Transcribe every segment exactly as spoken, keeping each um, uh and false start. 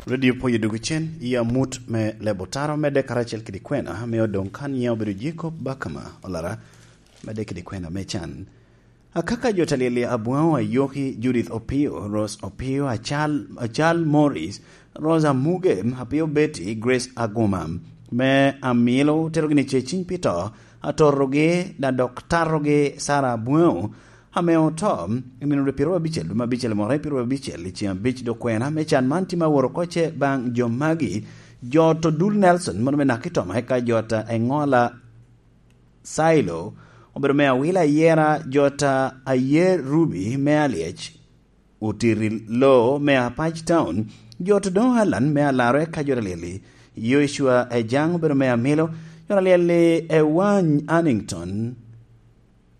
Radio Poyo dwogo cen i amut me lebo taro, medde karacel kede kwena ame odoŋ kan nyiŋe obedo Jacob Bakama Olara, medde kede kwena me can. Akaka jo ta lyel i Abwaŋo Ayoki, Judith Opio, Rose Opio, Acal, Acal Morris, Rose Amuge, Apio Betty, Grace Aguma, me Amilo, terogi ni ce ciny pi to, atorogi, da dok tarogi Sara Abwaŋo, ame oto i nino dwe pyeraryo abicel, dwe me abicel, mwaka pyeraryo abicel, i ceŋ abic dok kwena me can man tye ma woro oko ce baŋ jo magi, jo to Dul Nelson, mono me Nakitoma, eka jo ta Eŋola Sailo, obedo me Awila Ayera, jo ta Ayer Ruby me Alyec, Otiri Lo me Apac Town, jo to doŋ Alan me Alaro, eka jo ta lyel i Yoshua Ejaŋ obedo me Amilo, jo ta lyel i Ewany Annington,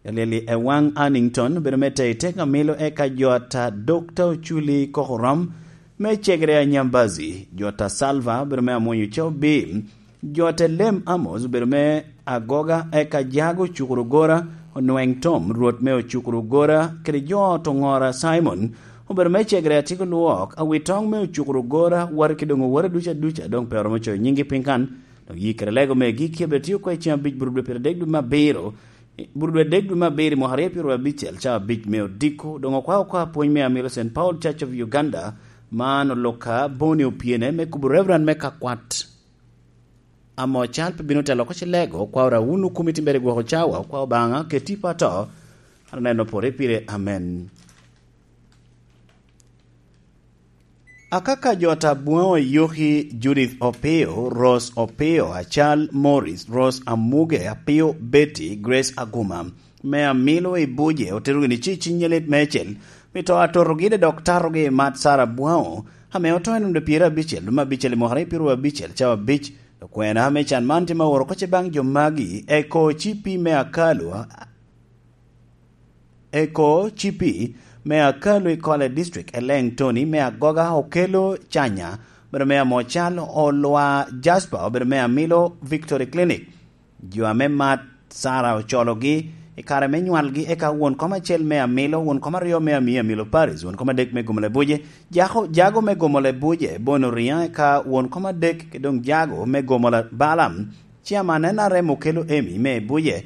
Lyel i Ewaŋ Annington obedo me tei tek Amilo, eka jo ata Dokta Oculi Kokorom me Cegere Anyambazi, jo ata Salva obedo me Amwonyo Cobi, jo ata Lem Amos obedo me Agoga, eka Jago Ocukuru Gora, Onweŋ Tom, Rwot me Ocukuru Gora, kede jo ata Oŋora Simon obedo me Cegere Atiko Lwok, Awitoŋ me Ocukuru Gora, wati ki doŋ owore duca duca, doŋ pe oromo coyo nyiŋgi piny kan, dok yikere lego me gikki abet tio oko i ceŋ abic bur dwe pyeradek dwe me abiro, Burudwe dek dwe me abiro i mwaka aryo pyeraryo abicel, cawa abic me odiko, doŋ okwao oko apwony me Amilo Saint Paul Church of Uganda, man oloka Boni Opyene, me kubo Reverend me Kakwat. Amo cal pe bino telo oko cilego, okwao ra wun okumi timbere gwoko cawa, okwao Obaŋa, keti pato, aneno pore pire, amen. Akaka jo ta Bwaŋo Yoki, Judith Opio, Rose Opio, Acal Morris, Rose Amuge, Apio Betty, Grace Aguma, me Amilo i Buje, otero gini ci ciny lit mecel, mi to atotogi de dok tatogi i mat Sara Bwaŋo, ame oto i nonde pyerabicel, dwe me abicel i mwaka aryo pyeraryo abicel, cawa abic, okwena me can man tye ma oro koce baŋ jo magi, eko cipi me Akalu, Eko cipi me Akalu i Kole District, Eleŋ Tony me Agoga, Okelo Canya, obedo me Amocal, Olwa Jasper, obedo me Amilo Victory Clinic. Jo ame mat Sara ocologi i kare me nywalgi, eka won kom acel me Amilo, won kom aryo me Ami Amilo Paris, won kom adek me Gomole Buje, jako, jago me Gomole Buje, Bono Riya, eka won kom adek, ki doŋ jago me Gomole Balam, Chairman N R M Okelo Emi me Buje,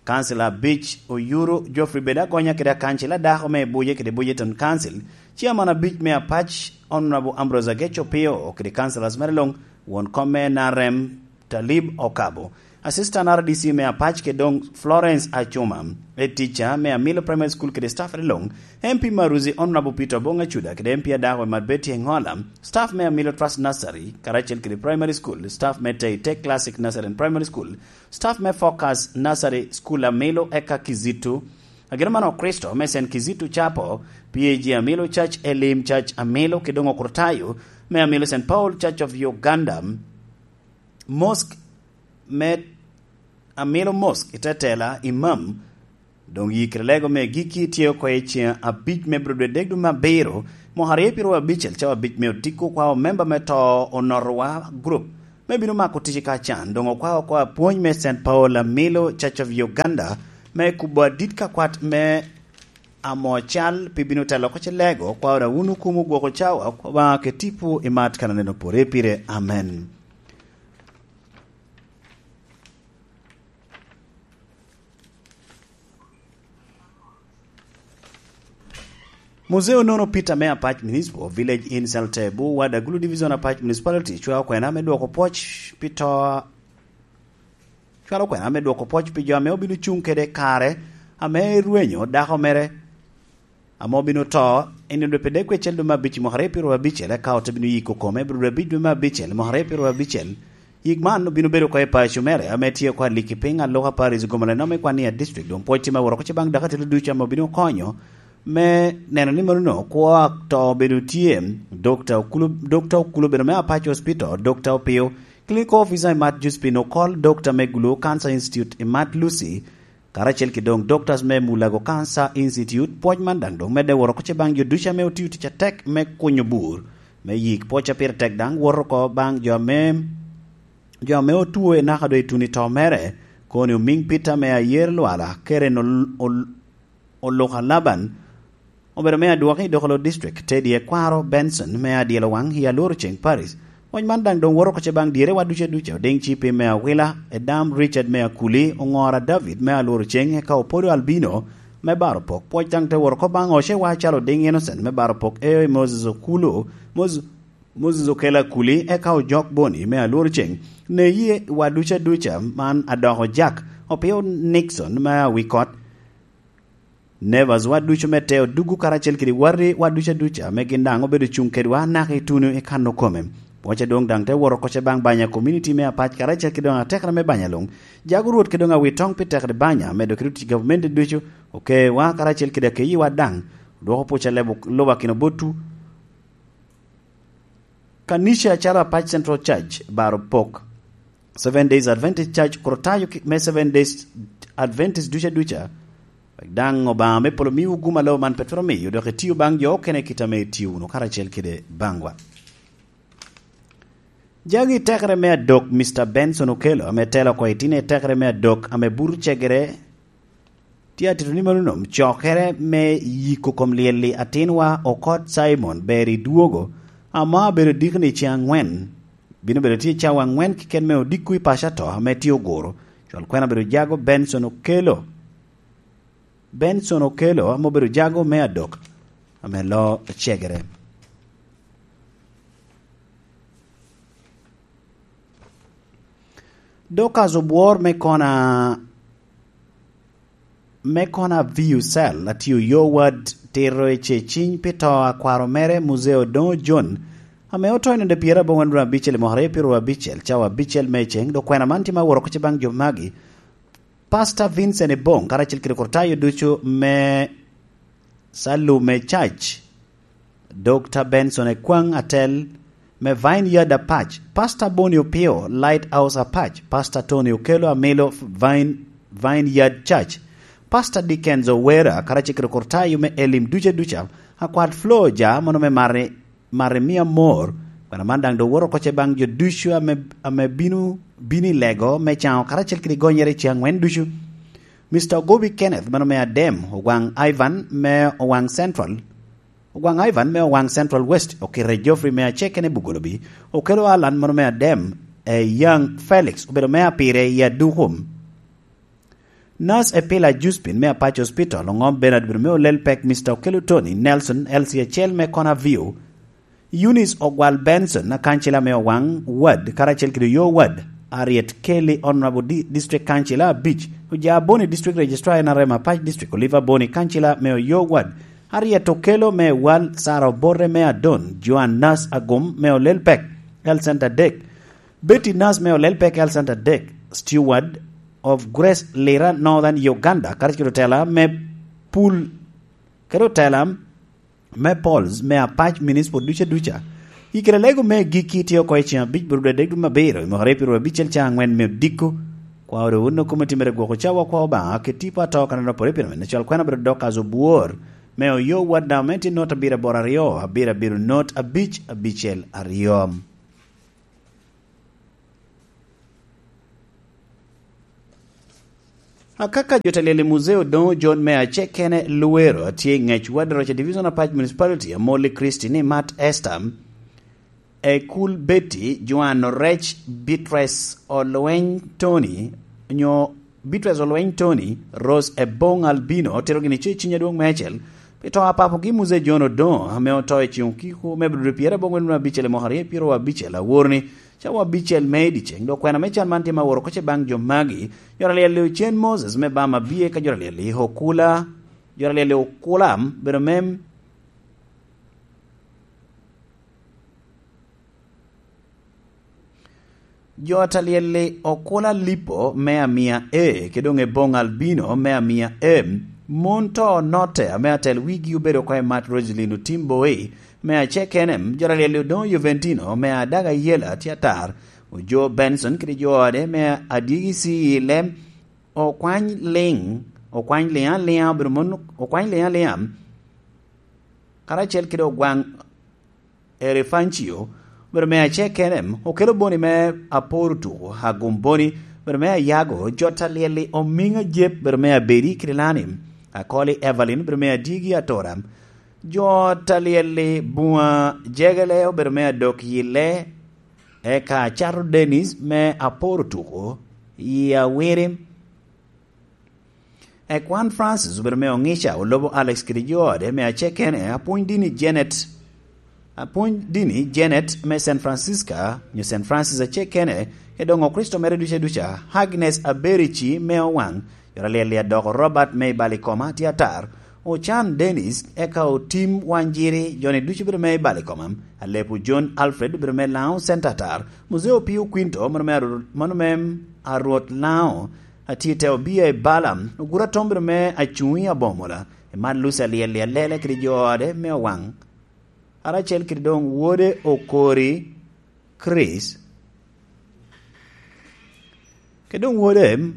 Kansila abic, Oyuru Geoffrey Bed Agonya kede akancil adako me Buje kede Bujeton Council, Chairman abic me Apac, Honorable Ambrose Ageco Pio kede councilors mere luŋ, won kom me N R M Talib Okabo, Assistant R D C me Apac kede doŋ Florence Acuma, Head Teacher me Amilo Primary School kede staff mere luŋ, M P Maruzi Honorable Peter Obong Acuda kede M P adako Emad Betty Engola, staff me Amilo Trust Nursery karacel kede Primary School, staff me Teite Classic Nursery and Primary School, staff me Focus Nursery School Amilo eka Kizito, ageno man Okristo me Saint Kizito Chapel, P A G Amilo Church, Elim Church Amilo, kede doŋ Okrutayo me Amilo Saint Paul Church of Uganda, Mosque me Amilo Mosque i Tetela, Imam, Doŋ yikere lego me gikki tye oko i ceŋ abic me bro dwe dek dwe me abiro, mwaka aryo pyeraryo abicel, cawa abic me odiko, kwao memba me to Onotowa Group me bino mako tic i ka can. Doŋ okwao oko apwony me Saint Paul Amilo Church of Uganda me kubo adit ka kwat me amo cal pi bino telo oko cilego, kwao da wun okumo gwoko cawa, kwa Obaŋa ke tipo i mat kan aneno pore pire. Amen. Muzeo nono Peter me Apac Municipal Village in Saltebu, Wad Agulu Division, Apac Municipality, cwalo kwena me dwoko pwoc pi to, cwalo kwena me dwoko pwoc pi jo ame obino cuŋ kede kare ame rwenyo dako mere ame obino to, en dwe pi dek kwecel dwe me abic i mwaka aryo pyeraryo abicel, eka ote bino yiko kome bro dwe abic dwe me abicel i mwaka aryo pyeraryo abicel. Yik man obino bedo oko i paco mere ame tye oko aliki piny aluka Paris Gomala nome kwan i a district, doŋ pwoc tye me woro oko ce baŋ dakatelo ducu ame obino konyo me neno ni mano kwo to obedo tye. Dokta Okulu, Dokta Okulu obedo me Apac Hospital, Dokta Opio, Clinical Officer i Mat Josephine Okol, Dokta me Gulu Cancer Institute i Mat Lucy, karacel ki doŋ Doctors me Mulago Cancer Institute. Pwoc man daŋ doŋ medde woro oko ce baŋ jo ducu ame otio tic atek me kunyo bur me yik. Pwoc a pire tek daŋ woto oko baŋ jo ame, jo ame otwo i naka doŋ i tuno i to mere, koni omiŋ Peter me Ayer Lwala, Keren Ol-, Ol-, Oluka Laban, Obedo me adwoki i Dokolo District, Teddy Ekwaro Benson me Adyelo Waŋ i Alworo Ceŋ Parish. Wec man daŋ doŋ woto oko ce baŋ dyere wa ducu aduca, Odiŋ Cipi me Awila, Edam Richard me Akuli, Oŋora David me Alworo Ceŋ, eka Opodo Albino me Baro Pok. Pwoc daŋ te woto oko baŋ Ocewa calo Odiŋ Innocent me Baro Pok, Eo Moses Okulu, Mos-, Moses Okelo Akuli, eka Ojok Boni me Alworo Ceŋ. Neyi wa ducu aduca man adoko Jack, Opio Nixon me Awikot, Nevers wa ducu me Teo Dugu karacel kede Wari wa ducu aduca ame gin daŋ obedo cuŋ kedwa naka i tuno i kano kome. Pwoc adwoŋ daŋ te woto oko ce baŋ Banya Community me Apac karacel kede doŋ atekere me Banya luŋ. Jago Rwot kede doŋ awitoŋ pi tekere Banya, medo kede otic gavumenti ducu, okewa karacel kede akeyiwa daŋ. Odwoko pwoc a lebo luba kino botwu. Kanica acalo Apac Central Church, Baro Pok, Seven Days Adventist Church, Korotayo ki-, me Seven Days Adventist duca duca, wek daŋ Obaŋa me polo miwu gum a lobo man pe twero miyo, dok itio baŋ jo okene i kit ame itio wunu karacel kede baŋwa. Jagi tekere me adok, Mister Benson Okello, ame telo oko itino i tekere me adok, ame buto cegere, tye atito ni mano nom cokere me yiko kom lyel-li atinwa Okot Simon ber i dwogo, ame abedo dikoni ceŋ aŋwen. Bino bedo tye cawa aŋwen keken me odiko i paco ato ame tye oguro. Cwal kwena obedo jago Benson Okello. Benson Okello ame obedo jago me adok ame lo cegere. Dorcas Obwor me kona, me kona Viu Cell, atio yo wad tito i ceciny pi to a kwaro mere, Muzeo Doŋo John, ame oto i nino pyerabongwen abicel i mwaka aryo pyeraryo abicel, cawa abicel me ceŋ, dok kwena man tye ma woro oko ce baŋ jo magi. Pastor Vincent Ebong, karacel kede Korotayo ducu me Salume Church, Dokta Benson Ekwaŋ, atel me Vineyard Apac, Pastor Boni Opio, Lighthouse Apac, Pastor Tony Okello, amilo Vine-, Vineyard Church, Pastor Dickens Owera, karacel kede Korotayo me Elim duca duca, akwat Flo ja mono me Mari, Mari mia mor, kwena man daŋ doŋ woto oko ce baŋ jo ducu ame, ame bino, bino i lego me caŋo karacel kede gonyere i ceŋ aŋwen ducu. Mister Ogobi Kenneth, mano me Adem, Ogwaŋ Ivan me Owaŋ Central, Ogwaŋ Ivan me Owaŋ Central West, okite Geoffrey me Acekene Bugolobi, Okello Alan, mano me Adem, e Young Felix, obedo me apire i Adukum. Nurse Epila Juspin me Apac Hospital, oŋom Bernard obedo me Olel Pek, Mister Okello Tony Nelson, L C acel me Kona View, Eunice Ogwal Benson, akancila me Owaŋ Ward, karacel kede Oyo Ward, Harriet Kelly, Honorable Di-, District Councilor abic, Oja Boni, District Registrar N R M Apac District, Oliver Boni, kancila me Oyo Ward, Harriet Okello me Wal, Sarah Obote me Adon, Joan Nas Agum me Olel Pek, Health Center adek, Betty Nas me Olel Pek, Health Center adek, Steward of Grace Lira, Northern Uganda, karacel kede otela me Pul, kede otela me Pauls me Apac Municipal duca duca. I kare lego me gikki tye oko i ceŋ abic bur dwe adek dwe me abiro, i mwaka aryo pyeraryo abicel caŋ aŋwen me odiko. Kwa odo wun okomo timere gwoko cawa kwa Obaŋa, kede tipo ato kaneno pore pire me cwal kwena obedo Dorcas Obwor, me Oyo Ward, namba me tye not abiro aboro aryo, abiro abiro not abic abicel aryo. Akaka jo ta lyel i Muzeo Doŋo John me Acekene Luwero atye i ŋec Wad Roca Division Apac Municipality, Amolli Christy ni Mat Esther, Ekul Betty, Joan Orec, Beatrice Olweny Tony, onyo Beatrice Olweny Tony, Rose Ebong Albino, otero gini ce ciny adwoŋ me acel, pi to a papogi Muzeo John Odoŋo, ame oto i ceŋ okiko me Abril pyerabongwen abicel i mwaka aryo pyeraryo abicel, awor ni, cawa abicel me i dyeceŋ, dok kwena me can man tye ma woro oko ce baŋ jo magi, jo ta lyel i Ocen Moses me Bam Abie, ka jo ta lyel i Okula, jo ta lyel i Okula, bedo mem. Jo ta lyel i Okula Lipo me Amia A, kede doŋ Ebong Albino me Amia M, mon to onotte ame atel wigi obedo oko i Mat Roselyn Otim Boi, me Acek N M, jo ta lyel i Odoŋo Juventino, me Adaga Yela tye atar, Ojo Benson kede jo ode me Adyegi C E lem, Okwany Liŋ, Okwany Liŋ Aliŋa, obedo mon Okwany Liŋ Aliŋa, karacel kede Ogwaŋ Erefancio, obedo me Acek N M, Okelo Boni me Apor Otuko, Agum Boni, obedo me Ayago, jo ta lyel i Omiŋa Jep, obedo me Abedi kede Lani, Akoli Evelyn, obedo me Adyegi Atora, Jo talyel i buŋa Jegele obedo me adok yille, eka Acato Dennis me Aporo Tuko i Awiri. Ekwan Francis obedo me Oŋica, olobo Alex kede jo ode me acekene, apwony dini Janet, apwony dini Janet me San Francisca, nyo San Francis acekene, edoŋo Kricito mere duca duca, Agnes Aberici me Owaŋ, jo alyel i adoko Robert me i Balikoma tye atar, Ocan Dennis, eka Otim Wanjiri, joni ducu bedo me i Balikoma, Alepu John Alfred obedo me Laŋo Center atar, Muzeo Pio Quinto, mano me Arwot, mano me Arwot Laŋo, atye te obia i Balaam, oguro atom bedo me Acuŋ i Abomola, i man Lucy alyel i Alele kede jo ode me Owaŋ, karacel kede doŋ wode Okori Chris, kede doŋ wode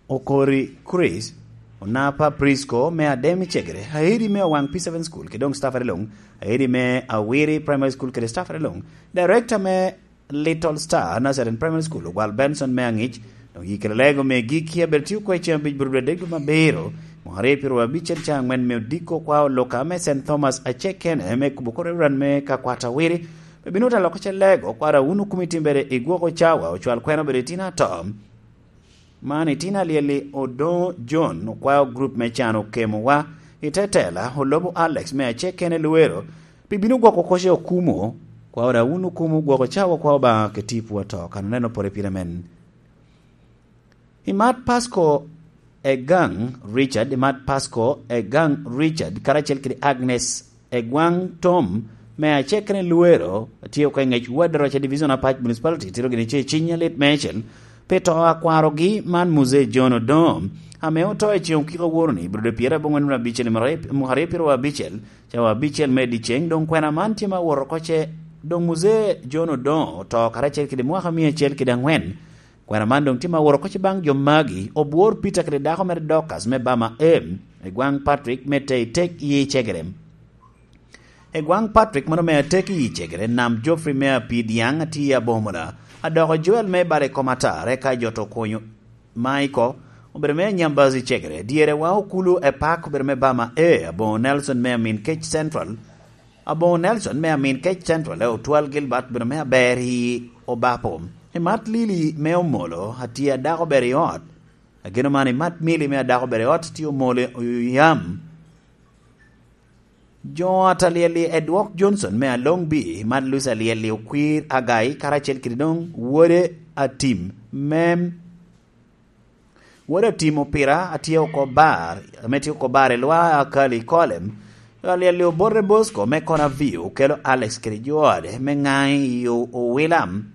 Okori Chris, Onapa Prisco me Adem i Cegere, Hairi me Owaŋ P seven School, kede doŋ staff areloŋ, Hairi me Awiri Primary School kede staff areloŋ, Director me Little Star Nazarene Primary School, Ogwal Benson me Aŋic, doŋ yikere lego me gikki abedo tye okwe ceŋ abic buru dwe adek dwe me abiro, mwaka aryo pyeraryo abicel caŋ aŋwen me odiko kwa oloka me Saint Thomas acekene me kubo kor Reverend me Kakwata Wiri, pe bino ta loko ce lego kwara wun okumi timbere i gwoko cawa ocwal kwena obedo itino ato. Man itino alyel-li Odoŋo John okwao grup me can okemowa, i te tela olobo Alex me acekene Luwero, pi bino gwoko koce okumo, kwao da wun okumo gwoko cawa kwao Obaŋa ke tipo ato, kan oneno pore pire men. I mat Pasco Egaŋ Richard, i mat Pasco Egaŋ Richard, karacel kede Agnes Egwaŋ Tom, me acekene Luwero, tye oko i ŋec Wad Roca Division Apac Municipality, tito gini ce ciny alit meicel, pi to a kwarogi man Muzee John Odoŋo, ame oto i ceŋ okiko aworo-ni, i Bulodo pyeraryo aboŋwen abicel i mwaka aryo pyeraryo abicel, cawa abicel me dyeceŋ, doŋ kwena man tye ma woro oko ce, doŋ Muzee John Odoŋo oto karacel kede mwaka mia acel kede aŋwen. Kwena man doŋ tye ma woro oko ce baŋ jo magi, obwor Peter kede dako mere Dorcas me Bama Em, i gwaŋ Patrick me Teitek i Cegere. I gwaŋ Patrick mano me atek i Cegere, Nam Geoffrey me Apidyaŋ atye i Abomola, adoko Joel me Bale Komatar, eka jo to Okonyo Maiko obedo me Nyambazi Cegere, dyere wa Okulu Epak obedo me Bama A, Aboŋo Nelson me Amin Kec Central, Aboŋo Nelson me Amin Kec Central, e Otwal Gilbert obedo me Aber i Obapo. I mat Lili me Omolo, atye adako ber i ot. Ageno man i mat Mili me adako ber i ot tye Omolo i yam. Jo atalyel-li Edwok Johnson me Along Bi, Martin Luther alyel-li Okwir Agai, karacel kede doŋ wode Atim, mem, wode Atim Opira, atye oko bar, ame tye oko bar i Lwa Akali Kolem, alyel-li Obote Bosco me Konavio, okelo Alex kede jo ode me Ŋaŋ i Owilam.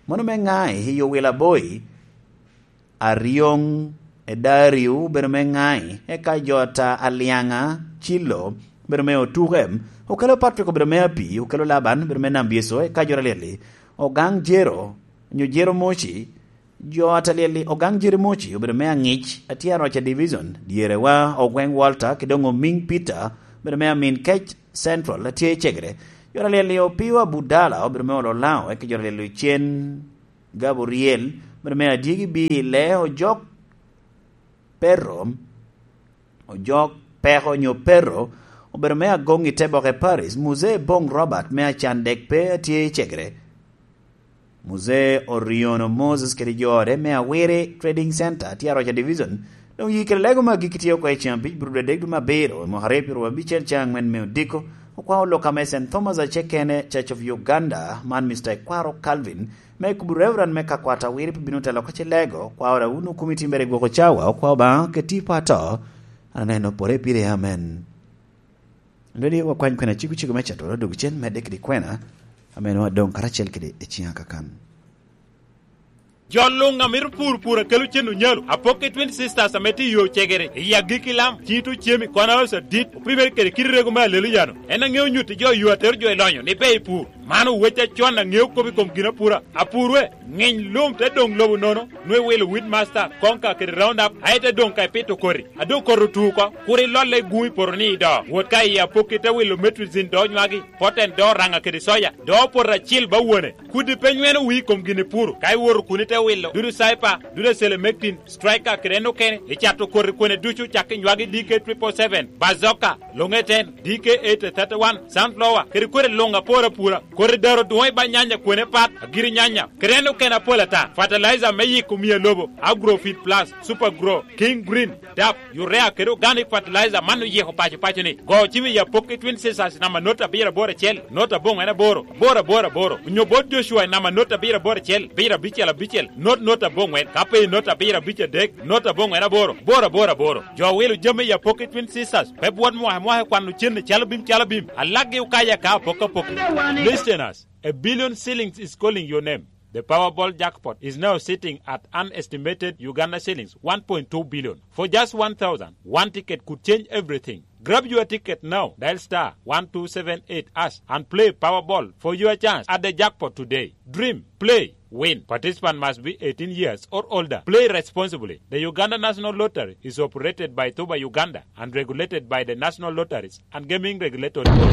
Mano me Ŋaŋ i Owilaboyi, Aryoŋ Edario obedo me Ŋaŋ, eka jo ata Alyaŋa Cilo obedo me Otuke, okelo Patrick obedo me Api, okelo Laban obedo me Nambyeco, eka jo alyel-li Ogaŋ Jero, nyo Jero Moci, jo atalyel-li Ogaŋ Jero Moci obedo me Aŋic, atye Aroca Division, dyere wa Ogweŋ Walter, kede doŋ Omiŋ Peter obedo me Amin Kec Central, atye i Cegere. Jo alyel-li Opio Abudala obedo me Olo Laŋo, eka jo alyel-li Ocen Gabriel obedo me Adyegi Bi i Le Ojok Perro, Ojok Peko nyo Perro, obedo me Agoŋ i Teboke Paris, Muzee Boŋ Robert me Acan Dek Pe atye i Cegere. Muzee Oriono Moses kede jo ode me Awiri Trading Center tye Aroca Division, doŋ yii kede lego me agikki tye oko i ceŋ abic buru dwe adek dwe me abiro, i mwaka aryo pyeraryo abicel caŋ aŋwen me odiko, okwaŋ oloka me Saint Thomas acekene, Church of Uganda, man Mister Ekwaro Calvin, me kubo Reverend me Kakwata Awiri pe bino telo oko ce lego, okwaŋ da wun okumi timbere i gwoko cawa, okwaŋ Obaŋa kede tipo ato, an aneno pore pire, amen. Lweli wakwany kwena ciko ciko me catoro dog cen medde kede kwena, ame nwa doŋ karacel kede i ciŋa kakan. Jo luŋ a mito pur pur akelo cen onyalo, apok i Twin Sisters ame tye i yo Cegere, i agikki lam, cito cemi, kwana oso adit, opimere kede kit rego me Aleluyano. En aŋeo nyutti jo yo atero jo i lonyo ni ber i pur. Man owec acon a ŋeo kop i kom ginapura. Apurwe, ŋiny lum te doŋ lobo nono, nwe wilo Weedmaster, Konka kede Roundup, aye te doŋ ka ipito koti. A doŋ koti otu oko, kur ilolle i gun i poto ni ido. Wot ka i apokki te wilo Metrozine do nywagi, Poten do raŋa kede soya, do poto acil ba wone. Kudi pe nyweno wii i kom gin ipuro, ka iwoto kun ite wilo dudu Cyper, dudu Selemectin, Striker kede en okene, icato koti kwene ducu cak i nywagi D K triple seven, Bazooka, Longeten, D K eight thirty-one, Sunflower, kede kwene luŋ apor apura. Koti daro dwoŋ i ba nyanya kwene pat, agiri nyanya, kede en okene apol ata. Fertilizer me yiko mia lobo, Agrofit Plus, Super Grow, King Green, dap, urea kede organic fertilizer man oyiko paco paco ni. Go cim i apokki Twin Sisters namba not abiro aboro acel, not aboŋwen aboro, aboro aboro aboro. Onyo bot Joshua namba not abiro aboro acel, abiro abicel abicel, not not aboŋwen. Ka pe not abiro abic adek, not aboŋwen aboro, aboro aboro aboro. Jo wilo jami i apokki Twin Sisters, pe bwot mwaka mwaka kwano cen calo bim calo bim. Alaggi okayo aka apok apok. Listeners, a billion shillings is calling your name. The Powerball jackpot is now sitting at an estimated Uganda shillings one point two billion. For just one thousand, one ticket could change everything. Grab your ticket now. Dial star one two seven eight hash and play Powerball for your chance at the jackpot today. Dream, play, win. Participant must be eighteen years or older. Play responsibly. The Uganda National Lottery is operated by Tuba Uganda and regulated by the National Lotteries and Gaming Regulatory Board.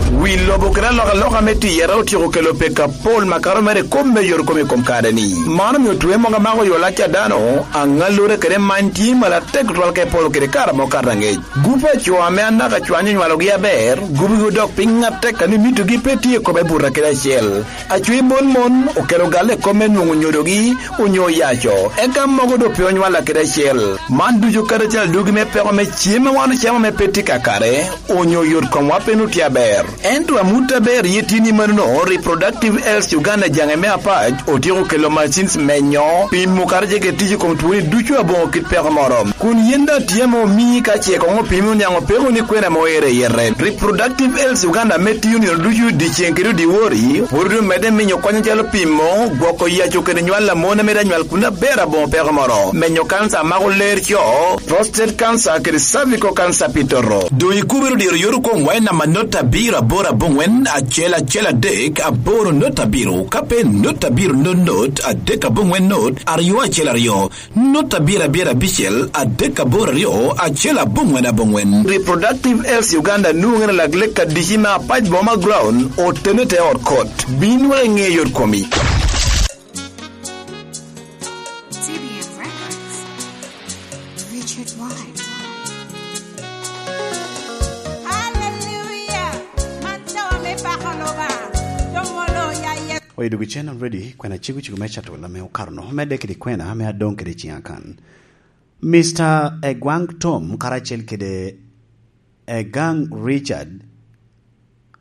Wi lobo kede alokaloka me tiyere otyeko kelo pek apol makato mere i kop me yot kom i kom kare-ni. Man omio twe mogo amako yo lac a dano, aŋallure kede many tye malo atek tutwal ka epolo kede kare amo kato aŋec. Gupe a co ame anaka cwany onywalogi aber, gubigi odok piny atek a ni mitogi pe tye i kome buta kede acel. Acwi mon mon okelo galle i kop me nwoŋo nyodogi onyo oyaco, eka mogo doŋ pe onywalla kede acel. Man ducu kadi acel adugi me peko me cem a wan ocamo ame pe tye kakare, onyo yot komwa pe nut tye aber. Ento amut aber ye tye ni manono, Reproductive Health Uganda jaŋe me apac otyeko kelo machines menyo, pimo kadi ce kede tic i kom twoni ducu aboŋo kit peko moro. Kun yen daŋ tye ame omii ka ce koŋ opimi oniaŋ opeko ni kwena ame oero i yete. Reproductive Health Uganda ame tiyo nino ducu dyeceŋ kede dyewor-ri, pwod omedde minyo kony acalo pimo, gwoko yaco kede nywal a mon ame daŋ nywal kun aber aboŋo peko moro, menyo kansa a mako ler co, prostate cancer kede cervical cancer pi toto. Doŋ ikubiro diro yot okomwa i namba not abiro aboro aboŋwen acel acel adek aboro not abiro, ka pe not abiro not not adek aboŋwen not aryo acel aryo. Not abiro abiro abicel adek aboro aryo acel aboŋwen aboŋwen. Reproductive Health Uganda nwoŋere lak lek adici me apac boma ground otene te ot kot. Bin wek iŋe yot komi. T B N Records. Richard White. Hallelujah. Man cawa me pako Lubanga. Dong olo ya Yecu. Oyo duk i channel ready, kwena cego cego me cato lam me okato no, medde kede kwena me adoŋ kede ciŋ akan. Mister Egwang Tom karacel kede Egang Richard,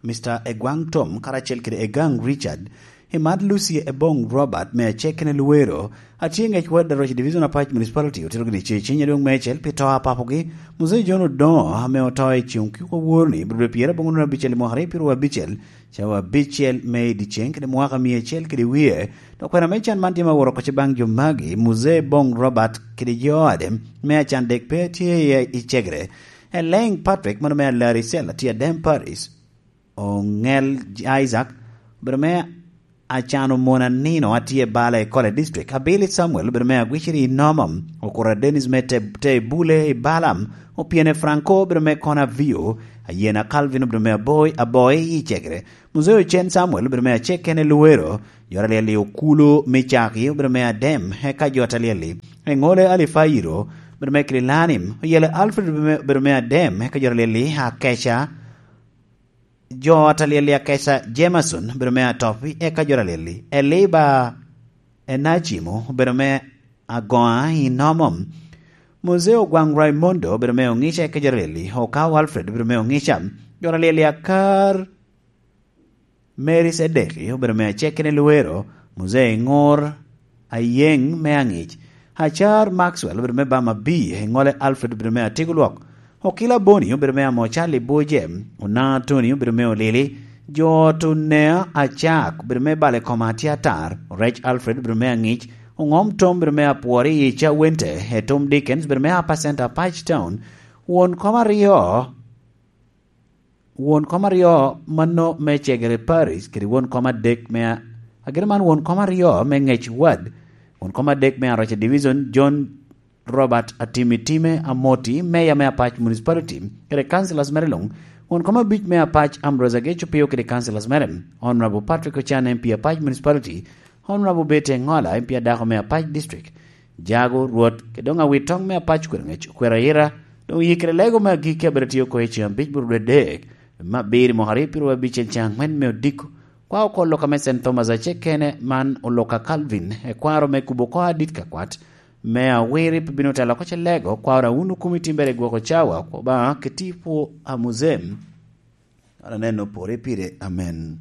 Mister Egwang Tom karacel kede Egang Richard, Emad Lucy Ebong Robert me Acekene Luwero, atye ŋec wot Daroc Division Apac Municipality, otito gini ce ciny adwoŋ meicel pi to a papogi, Muzee John Odongo, ame oto i ceŋ okiko woro ni, bro pyera aboŋo nino abicel i mwaka aryo pyero abicel, cawa abicel me i dyeceŋ kede mwaka mia acel kede wie. Dok kwena me can man tye ma woro oko baŋ jo magi, Muzee Bong Robert kede jo ade me acan dek pe tye i, i cegere. Eleng Patrick, mano me Alari Cell, atye Adem Paris. Oŋel Isaac, obedo me acan omon anino, atye Bala i Kole District. Abili Samuel, obedo me Agwiciri i Nomom. Okura Dennis me te, te Bule i Balam. Opyene Franco, obedo me Kona Vio. Ayena Calvin, obedo me Aboi, Aboi i Cegere. Muzee Ocen Samuel obedo me Acekene Luwero, jo Alyel-li Okulu Micaki obedo me Adem, eka jo Alyel-li, Eŋole Alifairo obedo me Kililanim, Oyele Alfred obedo me, obedo me Adem, eka jo Alyel-li Akeca, jo Alyel-li Akeca Jameson obedo me Atopi, eka jo Alyel-li Eliba Enacimo obedo me Agoa i Nomom, Muzee Ogwaŋ Raimondo obedo me Oŋica, eka jo Alyel-li Okawo Alfred obedo me Oŋica, jo Alyel-li Akar Mary Sedeki obedo me Acekene Luwero, Muzee Ŋor Ayeŋ me Aŋic, Acar Maxwell obedo me Bama B, Eŋole Alfred obedo me Atiko Lwok, Okila Boni obedo me Amocal i Buje, Onaŋ Atoni obedo me Olili, jo ot Onea Acak obedo me Bale Koma Atye Atar, Orec Alfred obedo me Aŋic, Oŋom Tom obedo me Apwori i Cawente, Etom Dickens obedo me Upper Center Patch Town, won kom aryo, won kom aryo mano me Cegere Parish kede won kom adek me a-, agire man won kom aryo me Ngec Ward, won kom adek me Aroca Division, John Robert Atimi Time Amoti, Mayor me Apac Municipality, kede councillors mere luŋ, won kom abic me Apac Ambrose Ageco Pio kede councillors mere, Honorable Patrick Ochan M P Apac Municipality, Honorable Betty Engola M P adako me Apac District, Jago Rwot, kede doŋ awitoŋ me Apac Kwero Ngec Okwero Ayira, doŋ oyikere lego me agikki abedo tye oko i ceŋ abic burudwe dek, me abiro mwaka aryo piro abicel ceŋ aŋwen me odiko, kwa oko loka me Saint Thomas acel kene man oloka Calvin, ekwaro me kubo oko adit ka kwat, me awiri pe bino telo oko ce lego, kwa ora wunu kumi timbere gwoko cawa, kwa ba ke tipo a muzem. An aneno pore pire, amen.